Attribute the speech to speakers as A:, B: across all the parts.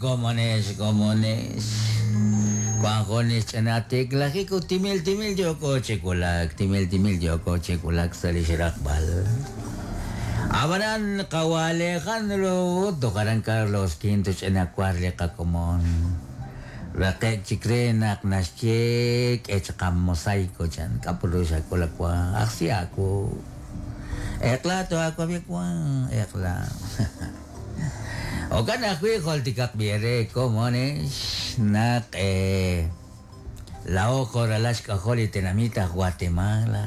A: komonex, komonex. Wan jun li xch'ina tiklajik ut timil timil yooko chi wulak, timil timil yooko chi wulak sa' li xraqb'al. Ab'anan qawa' Alejandro ut toj aran Carlos Quinto ch'ina war li qakomon. Raqe'k chik re naq naxye k'e chaq mosaico chan, k'a' put ru xak'ul a wa, ajsi aawu. Eq'la toaawab'i wa, eq'la. Jo'kan ajwi' jultikaq b'i eere komonex naq laa'o jo' ralal xk'ajol li tenamit aj Guatemala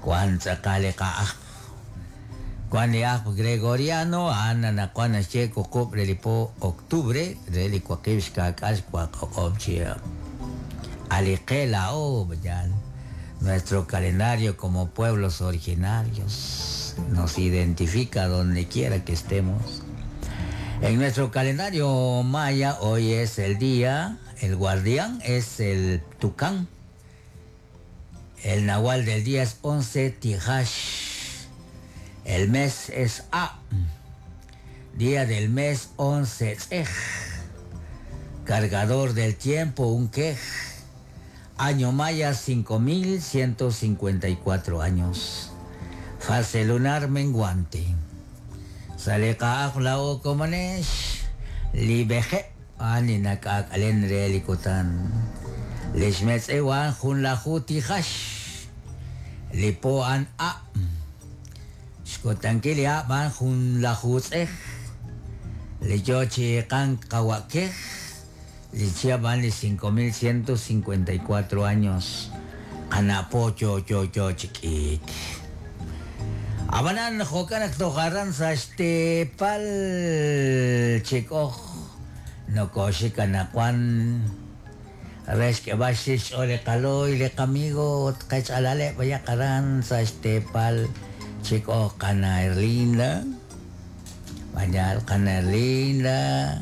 A: wan tz'aqal li qa'ajb'. Wan li ajb' Gregoriano a'an anaqwan naxye wuqub' re li po octubre re li waqib' xkaak'al xwaq o'q'ob' chihab'. A' li qe laa'o yaal. Nuestro calendario como pueblos originarios nos identifica donde quiera que estemos. En nuestro calendario maya hoy es el día, el guardián es el tucán. El nahual del día es 11 Tijash. El mes es A. Día del mes 11 Tzej. Cargador del tiempo un quej. Año maya 5154 años. Fase lunar menguante. Salika lao komanesh. Libeje ani nak'aak'alen re li kutan. Lix metz'ewan jun laju tijax. Li po an a. Xkutankil li a b'an jun laju tz'ej. Li yo chi qan qawakej. Li chihab' b'an li 5154 años. Qana' po yo yo yo chi k'iik. Ab'anan jo'kan naq toj aran sa' xteepal chik'oj nokoxik anaqwan re xk'eb'al xch'ool li qaloy li qamigo ut qech'alaleb' b'ayaq aran sa' xteepal chik'oj qana Erlinda. B'ayal qana Erlinda.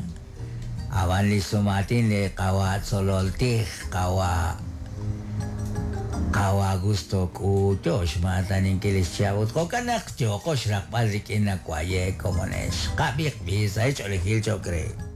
A: Ab'an li sumatin li qawa tzololtij qawa qawa Augusto k'uuyo xmaataninkil li xchihab' ut jo'kan naq yooko xraqb'al rik'in nawaye komonex qab'iq b'i sa' xch'oolejil cho'q re.